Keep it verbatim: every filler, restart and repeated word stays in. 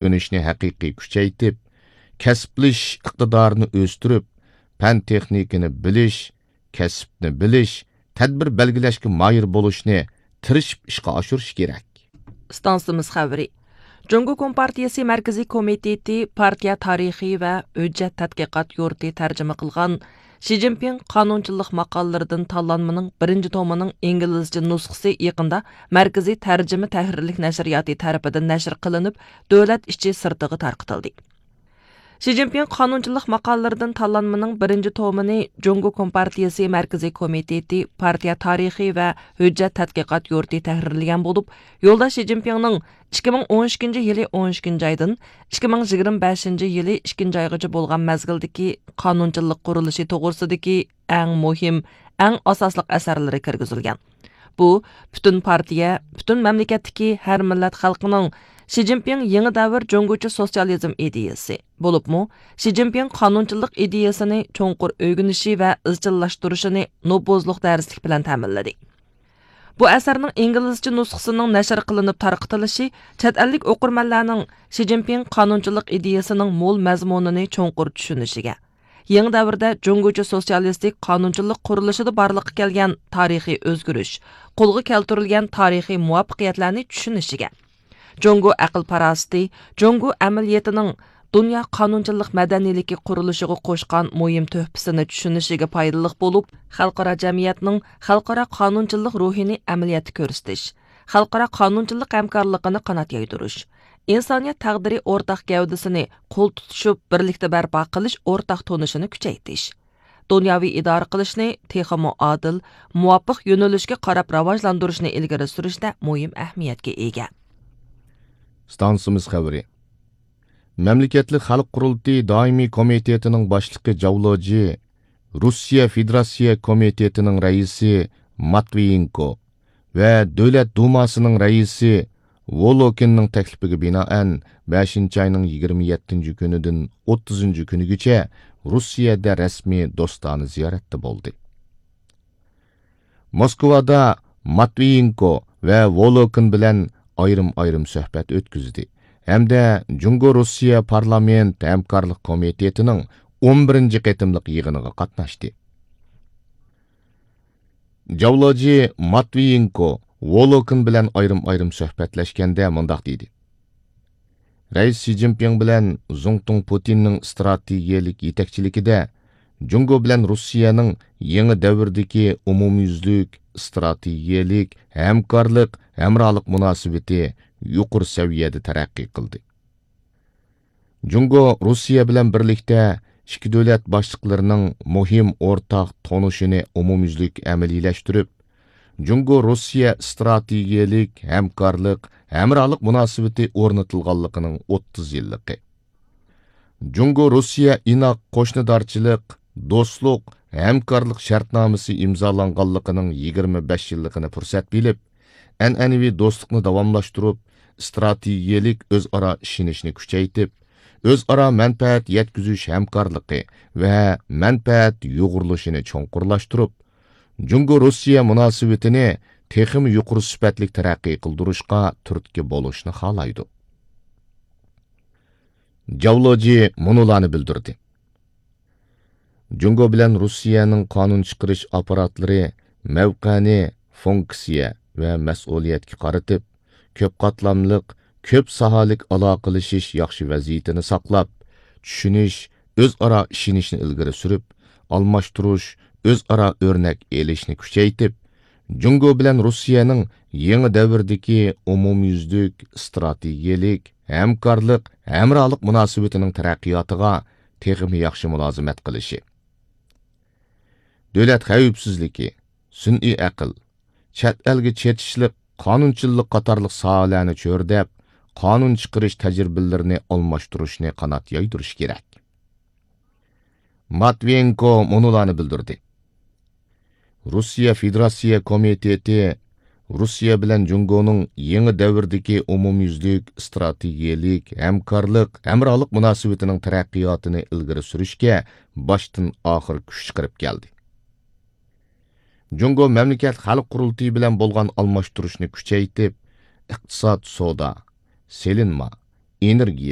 ئۆگىنىشنى ھەقىقىي كۈچەيتىپ، كەسىپلىشىش ئىقتىدارىنى ئۆستۈرۈپ، پەن-تېخنىكىنى بىلىش، كەسىپنى بىلىش، تەدبىر بەلگىلەشكە ماھىر بولۇشنى تىرىشىپ ئىشقا ئاشۇرۇش كېرەك. ئىستانسىمىز خەۋىرى. جۇڭگو كومپارتىيىسى مەركىزىي كومىتېتى پارتىيە تارىخى ۋە ھۆججەت تەتقىقات يۇرتى تەرجىمە قىلغان شى جىنپىڭ قانۇنچىلىق ماقالىلىرىدىن تاللانمىنىڭ بىرىنچى تومىنىڭ ئىنگلىزچە نۇسخىسى يېقىندا مەركىزىي تەرجىمە تەھرىرلىك نەشرىياتى تەرىپىدىن نەشر قىلىنىپ، دۆلەت ئىچى سىرتىغا تارقىتىلدى. شى جىنپىڭ قانۇنچىلىق ماقالىلىرىدىن تاللانمىنىڭ بىرىنچى تومىنى جۇڭگو كومپارتىيىسى مەركىزىي كومىتېتى پارتىيە تارىخى ۋە ھۆججەت تەتقىقات يۇرتى تەھرىرلىگەن بولۇپ، يولداش شى جىنپىڭنىڭ ئىككى مىڭ ئون ئىككىنچى يىلى ئون ئىككىنچى ئايدىن ئىككى مىڭ يىگىرمە بەشىنچى يىلى ئىككىنچى ئايغىچە بولغان مەزگىلدىكى قانۇنچىلىق قۇرۇلۇشى توغرىسىدىكى ئەڭ مۇھىم، ئەڭ ئاساسلىق ئەسەرلىرى كىرگۈزۈلگەن. بۇ پۈتۈن پارتىيە، پۈتۈن مەملىكەتتىكى ھەر مىللەت خەلقىنىڭ شى جىنپىڭ يېڭى دەۋر جۇڭگوچە سوتسىيالىزم ئىدىيىسى، بولۇپمۇ شى جىنپىڭ قانۇنچىلىق ئىدىيىسىنى چوڭقۇر ئۆگىنىشى ۋە ئىزچىللاشتۇرۇشىنى نوپۇزلۇق دەرسلىك بىلەن تەمىنلىدى. بۇ ئەسەرنىڭ ئىنگلىزچە نۇسخىسىنىڭ نەشر قىلىنىپ تارقىتىلىشى چەت ئەللىك ئوقۇرمەنلەرنىڭ شى جىنپىڭ قانۇنچىلىق ئىدىيىسىنىڭ مول مەزمۇنىنى چوڭقۇر چۈشىنىشىگە، يېڭى دەۋردە جۇڭگوچە سوتسىيالىستىك قانۇنچىلىق قۇرۇلۇشىدا بارلىققا كەلگەن تارىخىي ئۆزگىرىش، قولغا كەلتۈرۈلگەن تارىخىي مۇۋەپپەقىيەتلەرنى چۈشىنىشىگە، جۇڭگو ئەقىل-پاراسىتى، جۇڭگو ئەمەلىيىتىنىڭ دۇنيا قانۇنچىلىق مەدەنىيلىكى قۇرۇلۇشىغا قوشقان مۇھىم تۆھپىسىنى چۈشىنىشىگە پايدىلىق بولۇپ، خەلقئارا جەمئىيەتنىڭ خەلقئارا قانۇنچىلىق روھىنى ئەمەلىيەتتە كۆرسىتىش، خەلقئارا قانۇنچىلىق ھەمكارلىقىنى قانات يايدۇرۇش، ئىنسانىيەت تەقدىرى ئورتاق گەۋدىسىنى قول تۇتۇشۇپ بىرلىكتە بەرپا قىلىش ئورتاق تونۇشىنى كۈچەيتىش، دۇنياۋى ئىدارە قىلىشنى تېخىمۇ ئادىل، مۇۋاپىق يۆنىلىشكە قاراپ راۋاجلاندۇرۇشنى ئىلگىرى سۈرۈشتە مۇھىم ئەھمىيەتكە ئىگە. ئىستانسىمىز خەۋىرى. مەملىكەتلىك خەلق قۇرۇلتىيى دائىمىي كومىتېتىنىڭ باشلىقى جاۋ لېجى، روسىيە فېدېراتسىيە كومىتېتىنىڭ رەئىسى ماتۋىيېنكو ۋە دۆلەت دۇماسىنىڭ رەئىسى ۋولوكىننىڭ تەكلىپىگە بىنائەن، بەشىنچى ئاينىڭ يىگىرمە يەتتىنچى كۈنىدىن ئوتتۇزىنچى كۈنىگىچە روسىيەدە رەسمىي دوستانە زىيارەتتە بولدى. موسكۋادا ماتۋىيېنكو ۋە ۋولوكىن بىلەن ئايرىم-ئايرىم سۆھبەت ئۆتكۈزدى ھەمدە جۇڭگو روسىيە پارلامېنت ھەمكارلىق كومىتېتىنىڭ ئون بىرىنچى قېتىملىق يىغىنىغا قاتناشتى. جاۋ لېجى ماتۋىيېنكو ۋولوكىن بىلەن ئايرىم-ئايرىم سۆھبەتلەشكەندە مۇنداق دېدى: رەئىس شى جىنپىڭ بىلەن زۇڭتۇڭ پۇتىننىڭ ئىستراتېگىيەلىك يېتەكچىلىكىدە جۇڭگو بىلەن روسىيەنىڭ يېڭى دەۋردىكى ئومۇميۈزلۈك ئىستراتېگىيەلىك ھەمكارلىق، ھەمراھلىق مۇناسىۋىتى يۇقىرى سەۋىيەدە تەرەققىي قىلدى. جۇڭگو روسىيە بىلەن بىرلىكتە ئىككى دۆلەت باشلىقلىرىنىڭ مۇھىم ئورتاق تونۇشىنى ئومۇميۈزلۈك ئەمەلىيلەشتۈرۈپ، جۇڭگو روسىيە ئىستراتېگىيەلىك ھەمكارلىق، ھەمراھلىق مۇناسىۋىتى ئورنىتىلغانلىقىنىڭ ئوتتۇز يىللىقى، جۇڭگو روسىيە ئىناق قوشنىدارچىلىق، دوستلۇق، ھەمكارلىق شەرتنامىسى ئىمزالانغانلىقىنىڭ يىگىرمە بەش يىللىقىنى پۇرسەت بىلىپ، ئەنئەنىۋى دوستلۇقنى داۋاملاشتۇرۇپ، ئىستراتېگىيەلىك ئۆزئارا ئىشىنىشنى كۈچەيتىپ، ئۆزئارا مەنپەئەت يەتكۈزۈش ھەمكارلىقى ۋە مەنپەئەت يۇغۇرۇلۇشىنى چوڭقۇرلاشتۇرۇپ، جۇڭگو روسىيە مۇناسىۋىتىنى تېخىمۇ يۇقىرى سۈپەتلىك تەرەققىي قىلدۇرۇشقا تۈرتكە بولۇشنى خالايدۇ. جاۋ لېجى مۇنۇلارنى بىلدۈردى. جۇڭگو بىلەن روسىيەنىڭ قانۇن چىقىرىش ئاپپاراتلىرى مەۋقەنى فۇنكسىيە ۋە مەسئۇلىيەتكە قارىتىپ، كۆپ قاتلاملىق، كۆپ ساھەلىك ئالاقىلىشىش ياخشى ۋەزىيىتىنى ساقلاپ، چۈشىنىش، ئۆزئارا ئىشىنىشنى ئىلگىرى سۈرۈپ، ئالماشتۇرۇش، ئۆزئارا ئۆرنەك ئېلىشنى كۈچەيتىپ، جۇڭگو بىلەن روسىيەنىڭ يېڭى دەۋردىكى ئومۇميۈزلۈك ئىستراتېگىيەلىك ھەمكارلىق، ھەمراھلىق مۇناسىۋىتىنىڭ تەرەققىياتىغا تېخىمۇ ياخشى مۇلازىمەت قىلىشى. دۆلەت خەۋپسىزلىكى، سۈنئىي ئەقىل، چەت ئەلگە چېتىشلىق قانۇنچىللىق قاتارلىق ساھەلەرنى چۆرىدەپ، قانۇن چىقىرىش تەجرىبىلىرىنى ئالماشتۇرۇشنى قانات يايدۇرۇش كېرەك. ماتۋىيېنكو مۇنۇلارنى بىلدۈردى. روسىيە فېدېراتسىيە كومىتېتى روسىيە بىلەن جۇڭگونىڭ يېڭى دەۋردىكى ئومۇميۈزلۈك ئىستراتېگىيەلىك ھەمكارلىق، ھەمراھلىق مۇناسىۋىتىنىڭ تەرەققىياتىنى ئىلگىرى سۈرۈشكە باشتىن ئاخىر كۈچ چىقىرىپ كەلدى. جۇڭگو مەملىكەت خەلق قۇرۇلتىيى بىلەن بولغان ئالماشتۇرۇشنى كۈچەيتىپ، ئىقتىساد، سودا، سېلىنما، ئېنېرگىيە،